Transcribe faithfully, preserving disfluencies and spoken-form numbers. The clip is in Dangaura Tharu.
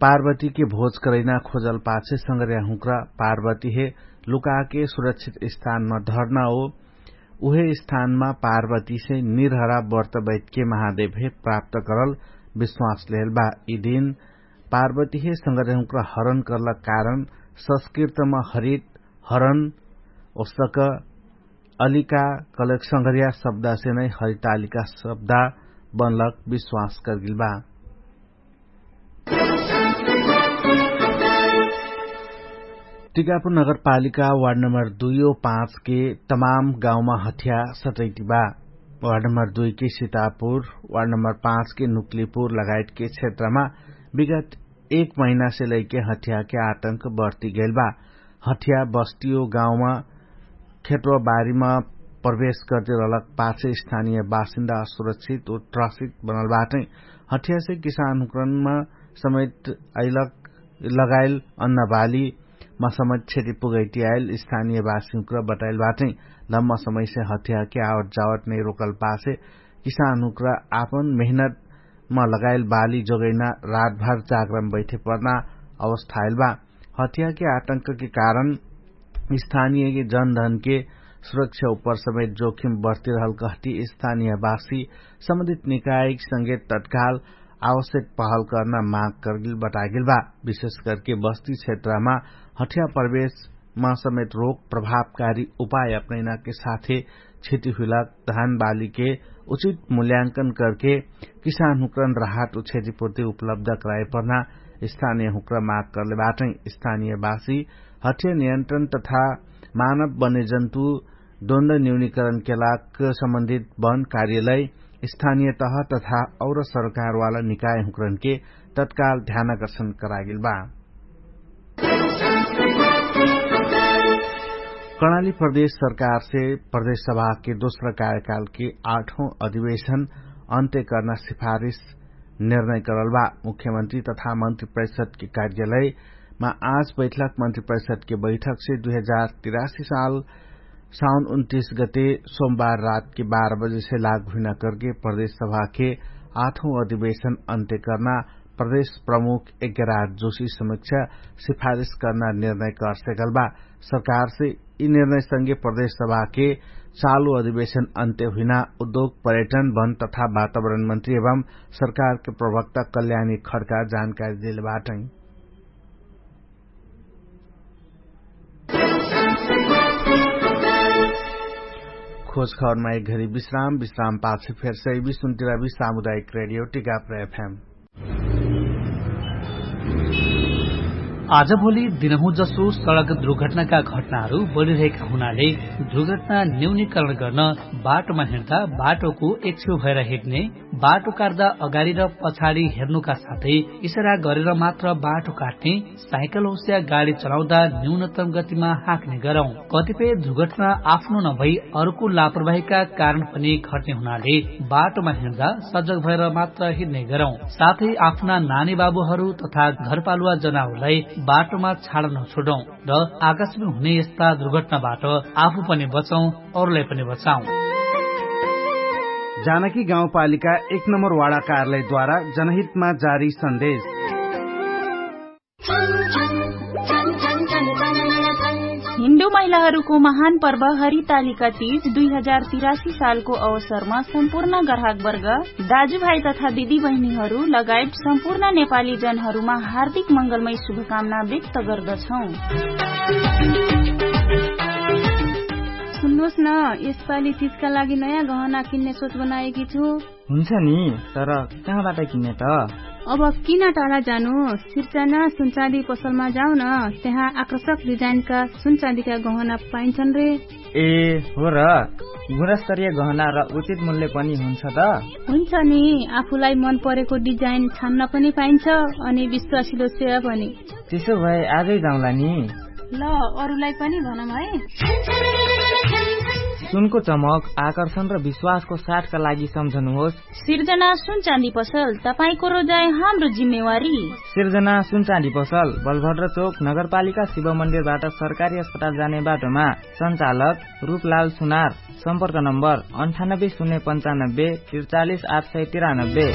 पार्वतीके भोज करैना खोजल पाछे संगर्या हुँक्रा पार्वतीहे लुकाके सुरक्षित स्थानमा धर्ना हो। उहे स्थानमा पार्वतीसे निर्हरा व्रत बैठके महादेवहे प्राप्त करल विश्वास लेहल बा। यि दिन पार्वतीहे संगर्या हुँक्रा हरण करला कारण संस्कृतमा हरित हरण ओस्तक अलिका कलक संगर्या शब्दासे नै हरितालिका शब्दा बनलक विश्वास करगिल बा। टिकापुर नगरपालिका वार्ड नम्बर दुई ओ पाँच के तमाम गाउँमा हठिया सटैति बा। वार्ड नम्बर दुई के सितापुर, वार्ड नम्बर पाँच के नुक्लिपुर लगायत के क्षेत्रमा विगत एक महिनासे लैके हठिया के आतंक बर्ति गैल बा। हठिया बस्तियो गाउँमा खेतवा बारीमा प्रवेश गर्दै रहलक पाछे स्थानीय बासिन्दा असुरक्षित उ त्रसित बनल बाटै। हठियासे किसानहुँक्रनमा समेत अइलक लगाइल अन्नबालीमा समेत क्षति पुगैति आइल स्थानीय बासिहुँक्र बताइल बाटै। लम्मा समयसे हठियाके आवट जावट नै रोकल पाछे किसानहुँक्र आपन मेहनतमा लगाइल बाली जोगैना रातभर जागरम बैठे पर्ना अवस्था आइल बा। हठियाके आतंकके कारण स्थानीयके जनधनके सुरक्षा उपर समेत जोखिम बर्तिरहल कहति स्थानीयवासी सम्बन्धित निकायक संगे तत्काल आवश्यक पहल कर्ना माग कर्गिल बतागिल बा। विशेष करके बस्ती क्षेत्रमा हठिया प्रवेशमा समेत रोक प्रभावकारी उपाय अपनैनाके साथे क्षति हुइला धान बालीके उचित मूल्यांकन करके किसानहुँक्रन राहत उ क्षतिपूर्ति उपलब्ध कराइपर्ना स्थानीयहुँक्र माग कर्ले बाटै। स्थानीयवासी हठिया नियन्त्रण तथा मानव बन्यजन्तु द्वन्द न्यूनिकरणके लाग सम्बन्धित वन कार्यलय स्थानीय तह तथा और सरकारवाला निकायहुँक्रनके तत्काल ध्यानाकर्षण करागिल बा। कर्णाली प्रदेश सरकारसे प्रदेश सभाके दोस्रा कार्यकालके आठौं अधिवेशन अन्त्य कर्ना सिफारिस निर्णय करल बा। मुख्यमन्त्री तथा मन्त्री परिषदके कार्यालयमा आज बैठलक मन्त्री परिषदके बैठकसे दुई हजार तिरासी साल साउन उन्तिस गते सोमबार रातके बाह्र बजेसे लागु हुइना करके प्रदेश सभाके आठौं अधिवेशन अन्त्य कर्ना प्रदेश प्रमुख एग्यराज जोशी समिक्षा सिफारिस कर्ना निर्णय कर्सेकल बा। सरकारसे यि निर्णयसँगे प्रदेश सभाके चालु अधिवेशन अन्त्य हुइना उद्योग पर्यटन वन तथा वातावरण मन्त्री एवं सरकारके प्रवक्ता कल्याणी खड्का जानकारी देले बाटै। खोज खबरमा एक घडी विश्राम विश्राम पाछे फेर सैबी सुन्तिराबी सामुदायिक रेडियो टिकाप्र एफएम। आजभोलि दिनहुँ जसो सडक दुर्घटनाका घटनाहरू बढिरहेका हुनाले दुर्घटना न्यूनीकरण गर्न बाटोमा हिँड्दा बाटोको एकछेउ भएर हिँड्ने, बाटो काट्दा अगाडि र पछाडि हेर्नुका साथै इसारा गरेर मात्र बाटो काट्ने, साइकल होस्या गाडी चलाउँदा न्यूनतम गतिमा हाँक्ने गरौँ। कतिपय दुर्घटना आफ्नो नभई अरूको लापरवाहीका कारण पनि घट्ने हुनाले बाटोमा हिँड्दा सजग भएर मात्र हिँड्ने गरौँ। साथै आफ्ना नानी बाबुहरू तथा घरपालुवा जनावरलाई बाटोमा छाड नछोडौँ र आकाशमा हुने यस्ता दुर्घटनाबाट आफू पनि बचौँ, अरूलाई पनि बचाउँ। जानकी गाउँपालिका एक नम्बर वाडा कार्यालयद्वारा जनहितमा जारी सन्देश। हिन्दू महिलाहरूको महान पर्व हरितालिका तीज दुई हजार तिरासी सालको अवसरमा सम्पूर्ण ग्राहकवर्ग, दाजुभाइ तथा दिदीबहिनीहरू लगायत सम्पूर्ण नेपाली जनहरूमा हार्दिक मङ्गलमय शुभकामना व्यक्त गर्दछौँ। सुन्नुहोस् न, यसपालि तीजका लागि नयाँ गहना किन्ने सोच बनाएकी छु। हुन्छ नि, तर कहाँबाट किन्ने त? अब किन टाढा जानु, सिर्जना सुनचाँदी पसलमा जाऊ न। त्यहाँ आकर्षक डिजाइनका सुनचाँदीका गहना पाइन्छन् रे। ए हो र, गुणस्तरीय गहना र उचित मूल्य पनि हुन्छ त? हुन्छ नि, आफूलाई मन परेको डिजाइन छान्न पनि पाइन्छ, अनि विश्वासिलो सेवा पनि। त्यसो भए आजै जाउँला नि। ल, अरूलाई पनि भनौँ है। सुनको चमक, आकर्षण र विश्वासको साथका लागि सम्झनुहोस्। सिर्जना सुनचाँदी पसल, तपाईंको रोजाइ हाम्रो जिम्मेवारी। सिर्जना सुनचाँदी पसल, बलभद्र चोक, नगरपालिका शिव मन्दिरबाट सरकारी अस्पताल जाने बाटोमा। सञ्चालक रूपलाल सुनार। सम्पर्क नम्बर अन्ठानब्बे शून्य पन्चानब्बे त्रिचालिस आठ सय तिरानब्बे।